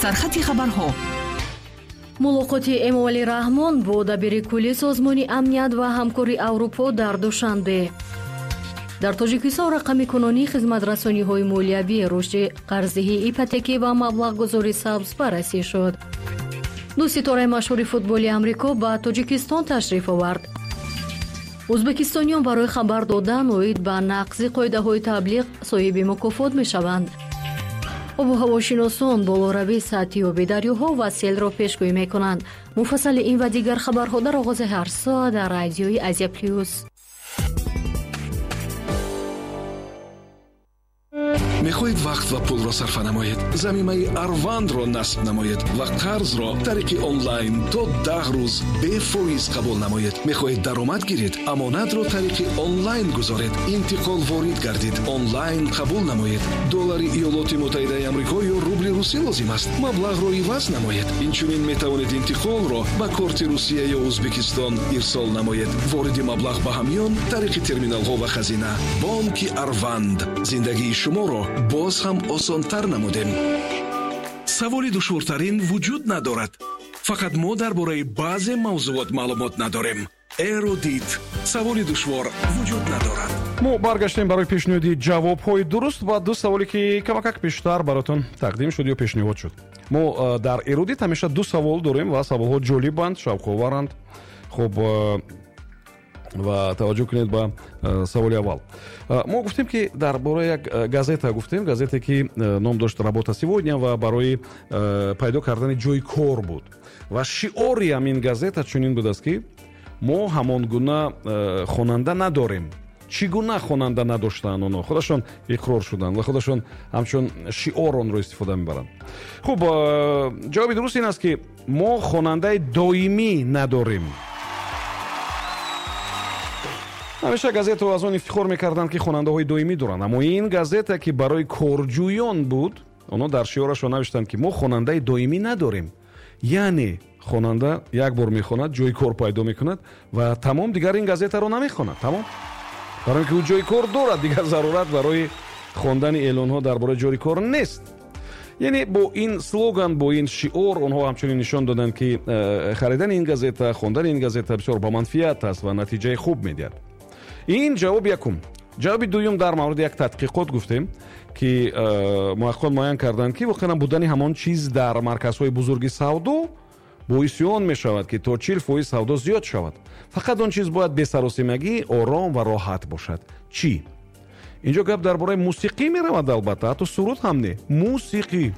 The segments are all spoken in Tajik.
Сархати хабарҳо. Мулоқоти Эмомалӣ Раҳмон бо дабири кулли Созмони амният ва ҳамкории Аврупо дар Душанбе. Дар Тоҷикистон рақами кунунии хизматрасониҳои молиявӣ, рушди қарздиҳии ипотекӣ ва маблағгузори сабз баррасӣ шуд. Ду ситораи машҳури футболи Амрико ба Тоҷикистон ташриф овард. Ӯзбекистониён барои хабар додан оид ба нақзи қоидаҳои таблиғ соҳиби мукофот мешаванд. Обу ҳавошиносон болоравии сатҳи оби дарёҳо ва селро пешгӯӣ мекунанд. Муфассали ин ва дигар хабарҳо дар оғози ҳар соат дар радиои Азия Плюс. Мехоҳед вақт ва пулро сарфа намоед? Замимаи Арвандро насб намоед ва қарзро тариқи онлайн то 10 рӯз бефоиз қабул намоед. Мехоҳед даромад гиред? Амонатро тариқи онлайн гузоред. Интиқол ворид гардид. Онлайн қабул намоед. Доллари Иёлоти Муттаҳидаи Амрико ё рубли русӣ лозим аст. Маблағро иваз намоед. Инчунин метавонед интиқолро ба корти Русия ё Ӯзбекистон ирсол намоед. Вориди маблағ ба ҳамён тариқи терминалҳо ва хазина. Бонки Арванд. Зиндагии шуморо боз ҳам осонтар намудем. Саволи душвортарин вуҷуд надорад. Фақат мо дар бораи баъзе мавзуот маълумот надорем. Эрудит. Саволи душвор вуҷуд надорад. Мо баргаштем барои пешниҳоди ҷавобҳои дуруст ва ду саволе ки камакак пештар баротон тақдим шуд ё пешниҳод шуд. Мо дар Эрудит ҳамеша ду савол дорем ва саволҳо ҷолибанд, шавқоваранд. Хуб, ва таваҷҷӯҳ кунед ба саволи аввал. Мо гуфтем ки дар бораи як газета гуфтем, газете ки ном дошт «Работа сегодня» ва барои пайдо кардани ҷои кор буд. Ва шиори ҳамин газета чунин будааст ки мо ҳамон гуна хонанда надорем. Чӣ гуна хонанда надоштанд онҳо? Худашон иқрор шуданд ва худашон ҳамчун шиор онро истифода мебаранд. Хуб, ҷавоби дуруст ин аст ки мо хонандаи доимӣ надорем. Ҳамеша газетаҳо аз он ифтихор мекарданд ки хонандаҳои доимӣ доранд, аммо ин газета ки барои корҷӯён буд, онҳо дар шиорашон навиштанд ки мо хонандаи доимӣ надорем. Яъне хонанда як бор мехонад, ҷои кор пайдо мекунад ва тамом, дигар ин газетаро намехонад. Тамом. Барои ин ки ӯ ҷои кор дорад, дигар зарурат барои хондани эълонҳо дар бораи ҷои кор нест. Яъне бо ин слоган, бо ин шиор онҳо ҳамчунин нишон доданд ки харидани ин газета, хондани ин газета бисёр ба манфиат аст ва натиҷаи хуб медиҳад. Ин ҷавоби якум. Ҷавоби дуюм дар мавриди як тадқиқот гуфтем ки муҳаққиқон муайян карданд ки воқеан будани ҳамон чиз дар марказҳои бузурги савдо боиси он мешавад ки то 40% савдо зиёд шавад. Фақат он чиз бояд бесаросимагӣ, ором ва роҳат бошад. Чӣ? Инҷо гап дар бораи мусиқӣ меравад, албатта, ҳатто суруд ҳам не, мусиқӣ.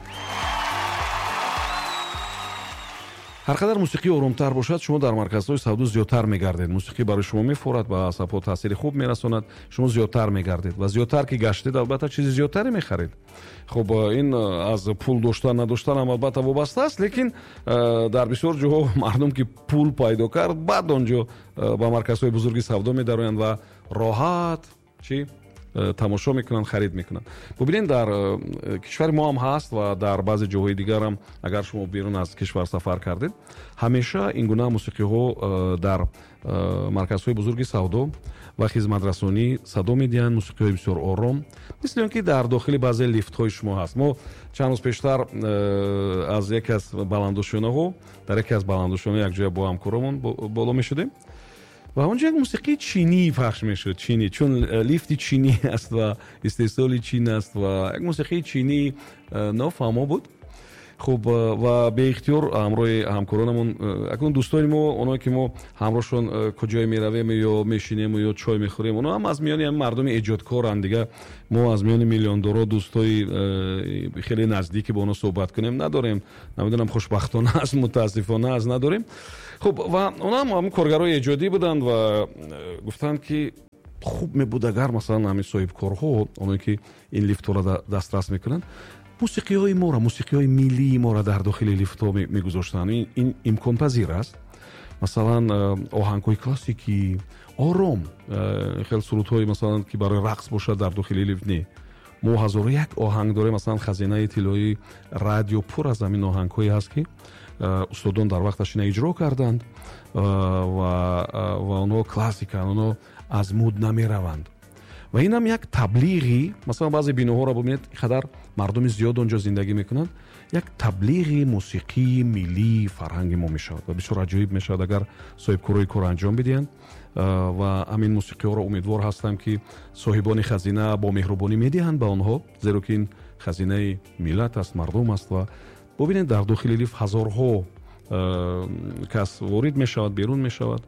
Ҳар қадар мусиқӣ оромтар бошад, шумо дар марказҳои савдо зиёдтар мегардед. Мусиқӣ барои шумо мефорад, ба асабҳо таъсири хуб мерасонад, шумо зиёдтар мегардед ва зиёдтар ки гаштед, албатта чизи зиёдтаре мехаред. Хуб, ин аз пул доштан надоштан ҳам албатта вобаста аст, лекин дар бисёр ҷоҳо мардум ки пул пайдо кард, баъд он ҷо ба марказҳои бузурги савдо медароянд ва роҳат чӣ тамошо мекунанд, харид мекунанд. Бубинед, дар кишвари мо ҳам ҳаст ва дар баъзе ҷоҳои дигар ҳам, агар шумо берун аз кишвар сафар кардед, ҳамеша ин гуна мусиқиҳо дар марказҳои бузурги савдо ва хизматрасонӣ садо медиҳанд, мусиқиҳои бисёр ором, мисли он ки дар дохили баъзе лифтҳои шумо ҳаст. Мо чанд рӯз пештар аз яке аз баландошёнаҳо, дар яке аз баландошёнаҳо якҷоя бо ҳамкоромон боло мешудем ва онҷо як мусиқии чинӣ пахш мешуд. Чинӣ, чун лифти чинӣ аст ва истеҳсоли чин аст ва як мусиқии чинӣ нофаҳмо буд. Хуб, ва беихтиёр ҳамроҳи ҳамкоронамон, акнун дӯстони мо, оное ки мо ҳамроҳшон куҷое меравем ё мешинем ё чой мехӯрем, оно ҳам аз миёни ҳамин мардуми эҷодкоранд. Дигар мо аз миёни миллиондоро дӯстои хеле наздике бо онҳо суҳбат кунем надорем. Намедонам, хушбахтона аст, мутаассифона аст, надорем. Хуб, ва онҳо ҳам ҳамин коргарои эҷодӣ буданд ва гуфтанд ки хуб мебуд агар масалан ҳамин соҳибкорҳо, оное ки ин лифтҳоро дастрас мекунанд, мусиқиҳои моро, мусиқиҳои миллии моро дар дохили лифтҳо мегузоштанд. Ин имконпазир аст. Масалан, оҳангҳои классикӣ, ором, хеле сурудҳои масалан ки барои рақс бошад дар дохили лифт не. Мо 1001 оҳанг дорем, масалан хазинаи тиллоии радио пур аз ҳамин оҳангҳое ҳаст ки устодон дар вақташ ина иҷро карданд ва онҳо классиканд, онҳо аз муд намераванд. Ва инам як таблиғи, масалан баъзе биноҳоро бубинед, қадар Мардуми зиёд он ҷо зиндагӣ мекунанд, як таблиғи мусиқии миллии фарҳанги мо мешавад ва бисёр аҷоиб мешавад, агар соҳибкорои корро анҷом бидиҳанд. Ва ҳамин мусиқиҳоро умедвор ҳастам, ки соҳибони хазина бо меҳрубонӣ медиҳанд ба онҳо, зеро ки ин хазинаи миллат аст, мардум аст. Ва бубинед, дар дохили лифт ҳазорҳо кас ворид мешавад, берун мешавад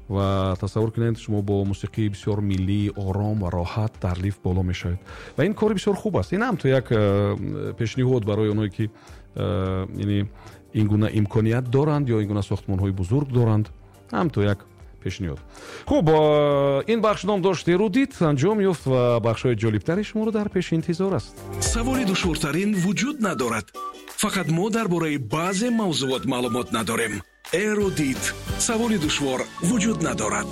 ва тасаввур кунед, шумо бо мусиқии бисёр миллӣ, ором ва роҳат дар лифт боло мешавед ва ин кори бисёр хуб аст. Ин ҳам то як пешниҳод барои оное, ки яъне ин гуна имконият доранд ё ин гуна сохтмонҳои бузург доранд, ҳам то як пешниҳод. Хуб, ин бахш ном дошт «Эрудит», анҷом ёфт ва бахшҳои ҷолибтари шуморо дар пеши интизор аст. Саволи душвортарин вуҷуд надорад, фақат мо дар бораи баъзе мавзуот маълумот надорем. Эрудит: саволи душвор вуҷуд надорад.